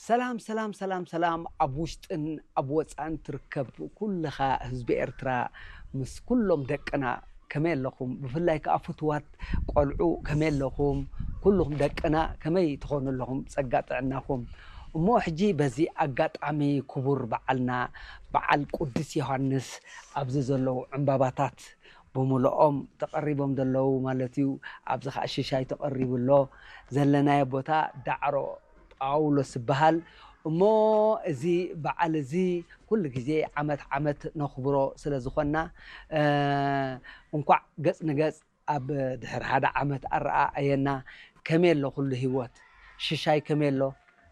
ሰላም ሰላም ሰላም ሰላም፣ ኣብ ውሽጥን ኣብ ወፃእን ትርከብ ኩልኻ ህዝቢ ኤርትራ፣ ምስ ኩሎም ደቅና ከመይ ኣለኹም? ብፍላይ ከዓ ፍትዋት ቆልዑ ከመይ ኣለኹም? ኩልኹም ደቅና ከመይ ትኾኑ ኣለኹም? ጸጋ ጥዕናኹም። እሞ ሕጂ በዚ ኣጋጣሚ ክቡር በዓልና በዓል ቅዱስ ዮሃንስ ኣብዚ ዘለዉ ዕምባባታት ብምልኦም ተቐሪቦም ዘለዉ ማለት እዩ። ኣብዚ ከዓ ሽሻይ ተቐሪቡ ኣሎ። ዘለናዮ ቦታ ዳዕሮ ጳውሎስ ይበሃል። እሞ እዚ በዓል እዚ ኩሉ ግዜ ዓመት ዓመት ነኽብሮ ስለ ዝኾንና፣ እ፣ እንኳዕ ገጽ ንገጽ ኣብ ድሕሪ ሓደ ዓመት ኣረኣእየና። ከመይ ኣሎ ኩሉ ህይወት? ሽሻይ ከመይ ኣሎ?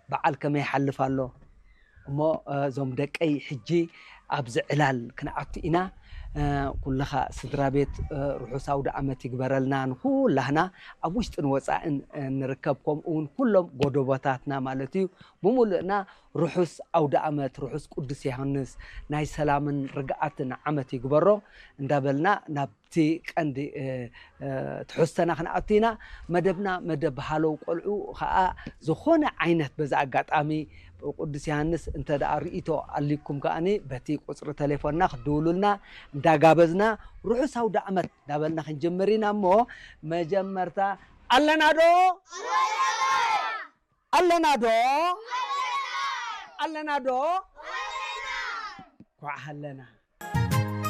በዓል ከመይ ይሓልፍ ኣሎ? እሞ፣ እ፣ እዞም ደቀይ ሕጂ ኣብዚ ዕላል ክንኣቱ ኢና። እ፣ ኩልኻ ስድራ ቤት፣ እ፣ ርሑስ ኣውደ ዓመት ይግበረልና ንኩላህና ኣብ ውሽጥን ወጻእን፣ እ፣ ንርከብ፣ ከምኡ እውን ኩሎም ጎደቦታትና ማለት እዩ። ብምሉእና ርሑስ ኣውደ ዓመት፣ ርሑስ ቅዱስ ዮሃንስ፣ ናይ ሰላምን ርግኣትን ዓመት ይግበሮ እንዳበልና ናብቲ ቀንዲ፣ እ፣ እ፣ ትሕዝቶና ክንኣቱ ኢና። መደብና መደብ ሃለው ቆልዑ ኸኣ ዝኾነ ዓይነት በዚ ኣጋጣሚ ቅዱስ ዮሃንስ እንተ ደኣ ርእይቶ ኣልይኩም ከኣኒ በቲ ቁጽሪ ተሌፎንና ክትድውሉልና እንዳጋበዝና ርሑስ ኣውደ ዓመት እንዳበልና ክንጅምር ኢና። እሞ መጀመርታ ኣለና ዶ? ኣለና ዶ? ኣለና ዶ? ኳዕ ሃለና።